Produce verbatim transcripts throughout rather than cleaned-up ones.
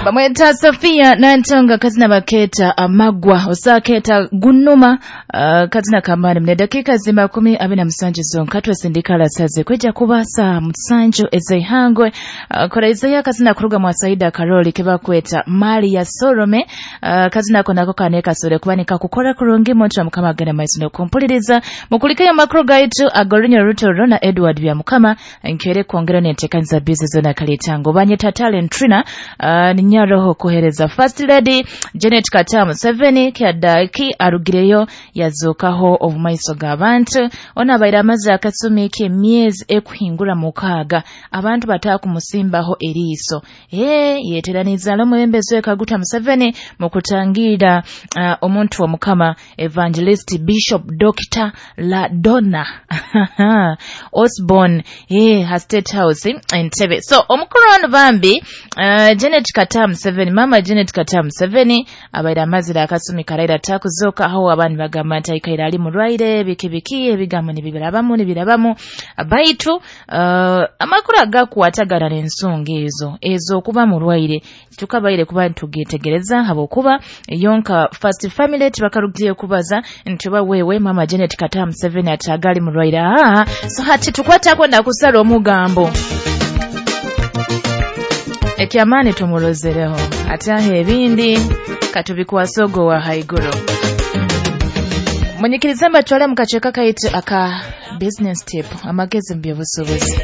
Bamweta Sofia Nantonga kazina baketa amagwa osaketa gunuma uh, kazina kamani mne dakika zima kumi abiri na musanju zonka twesindika lasaze kweja kubasa musanju ezeihangwe uh, kora Isaiah kazina kuruga mwa Saida Karoli kebakweta mali ya Solome uh, kazina konako kaneka sore kuba nikakukora kurungi muntu wa Mukama agenda maiso nokumpuliriza mukulikeyo makuru gaitu agorinya Rutoro na Edward bya Mukama nkere kwongera nentekanza bizi zona kalitango banyeta talent trina uh, ninyaroho kuhereza First Lady Janet Kataha Museveni kyadaki arugireyo yazukaho obumaiso g'abantu ona abaire amaze akasumi k'emyezi ekuhingura mukaaga abantu batakumusimbaho eriiso ee yeteraniza omwebembezi we Kaguta Museveni mu kutangira uh, omuntu wa Mukama Evangelist Bishop Doctor Ladonna Osborne eh ha State House Entebbe. So omukuru ono bambi uh, Janet Kataha Museveni, mama Janet Kataha Museveni abaire amazire akasumi karaira takuzoka aho abantu bagamba nti aikaire ali murwaire biki biki ebigambo nibibirabamu nibirabamu baitu uh, amakuru agakwatagana n'ensonga ezo ezo okuba murwaire tukabaire kuba nitugetegereza habwokuba yonka First Family tibakarugire kubaza nti oba wewe mama Janet Kataha Museveni atagali murwaire. Ah, so hati tukwatako nakusala omugambo ekyamaani tumurozereho ate ebindi katubikwasa ogo wa haiguru. Munyikirize mbatwale mu kaceeka kaitu aka business tip amagezi mu by'obusuubuzi.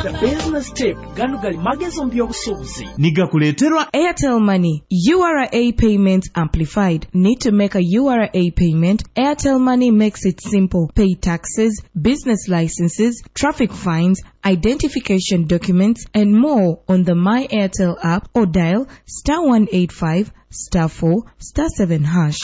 The business tip gano gali magezi mu by'obusuubuzi nigakuleeterwa Airtel Money U R A Payment Amplified. Need to make a U R A payment? Airtel Money makes it simple. Pay taxes, business licenses, traffic fines, identification documents, and more on the My Airtel app or dial star one eight five star four star seven hash.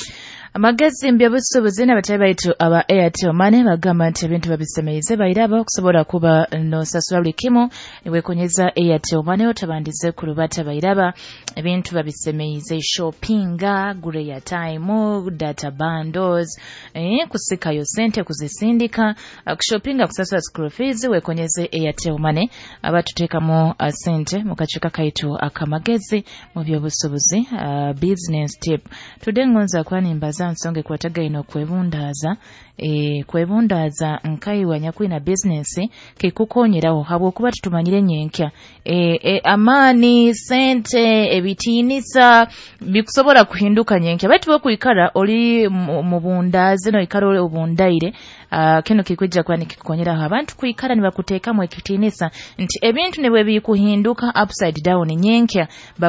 Amagezi mbyabusuubuzi n'abatali baitu aba Airtel Money bagamba nti ebintu babisemeize bairaba okusobola kuba nosasula buli kimu niwekonyeza Airtel Money otabandize ku lubata bairaba ebintu babisemeize shoppinga gura airtime data bundles eh, kusikayo sente kuzisindika kushoppinga kusasula school fees wekonyeze Airtel Money abatuteekamu uh, sente mu kacuka kaitu akamagezi mu byobusuubuzi uh, business tip. Today ngonza kwanimbaza nsonga ekwatagaine okwebundaaza e, kwebundaaza nkaiwa nyakwina business kikukonyeraho habwokuba tutumanyire nyenkya e, e, amaani sente ebitiinisa bikusobola kuhinduka nyenkya baitu bokwikara oli mu bundaazi noikara oli obundaire uh, kino kikwijja kuba nikikukonyeraho abantu kwikara nibakuteekamu ekitiinisa nti ebintu nibwe bikuhinduka upside down nyenkya.